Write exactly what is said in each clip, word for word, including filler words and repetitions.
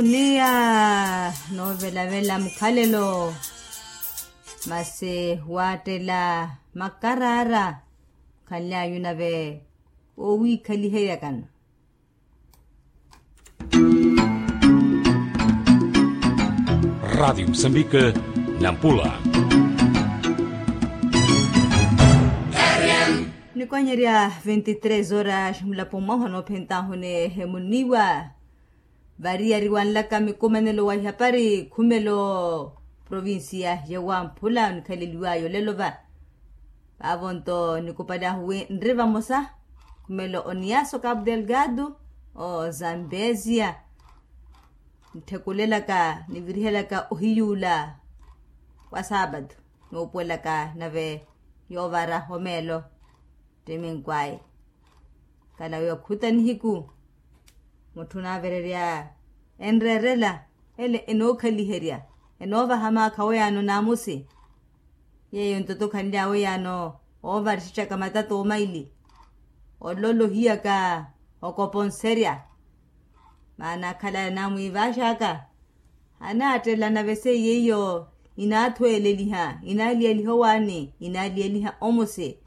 Niya noovelavela mukhalelo, masi waattela makaraara, khanlyanyu nave owiikhaliheryakana. Radiyo musambika, nampula. Nikonyerya veintitrês horas mulapo mwahu anoophentahuni ehemuniwa. Variyari wanlaka mikumanelo wa ihapari khumelo provincia ya wamphula onikhaleliwaya olelo va. Vaavo nto nikupali ahu wi nri vamosa khumelo oniyaso capo delgado, ozambezia, ntthukulelaka nivirihelaka ohiyuula wa saapatu, nuupuwelaka nave yoovara omeelo. Ttiminkw'aya kala wi okhuta nihiku mutthu onaavererya enreerela ele enookhaliherya, enoovaha maakha aweyaano naamusi. Yeeyo nto tokhanly'awe yaano oovarixixaka matata omaili, ololo ohiyaka okoponserya. Maana akhalaya naamwiivaxaka, anaattelana veseiye iyo, inaathweeleliha, inaaliyaliha owaani, inaaliyaliha omusi.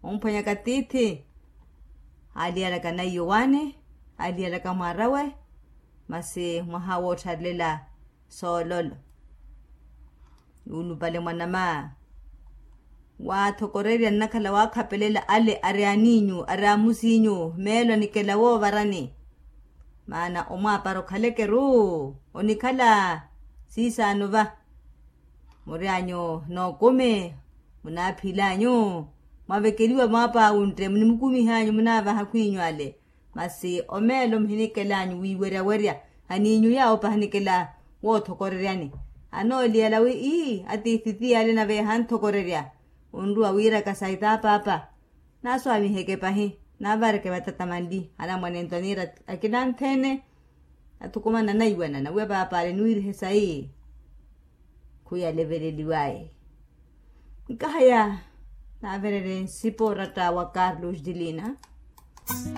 Omphwanyaka tiithi, aaliyalaka naiyo owaani, aaliyalaka mwaarawe, masi mwaha woottharelela soololo. Nuulupale mwanama, waathokorerya nnakhala waakhapelela ale ari aniinyu ari amusiinyu meelo anikela woovarani. Maana omwaapara okhalekeru onikhala siisaano va. Muryanyu nookumi, munaaphilanyu, mwavekeliwa mwaapawuntte munimukumihanyu munaavaha khwiinyu ale. Masi omeelo muhinikelanyu wiiweryawerya, aniinyu yaawo pahanikela woothokoreryani. Anooliyala wi ii atiithi tiyale nave yahanthokorerya. Onruwa wiiraka sayi taapaapa, naaswamiheke pahi, naavareke vatata manli anamwane nto aniira akina anthene. Athukumana naiwanana wi apaapa ale niwiirihe sayi. Khuyaleveleliwaye. Nkahaya naavererye nsipa oratta wa carlos dilina.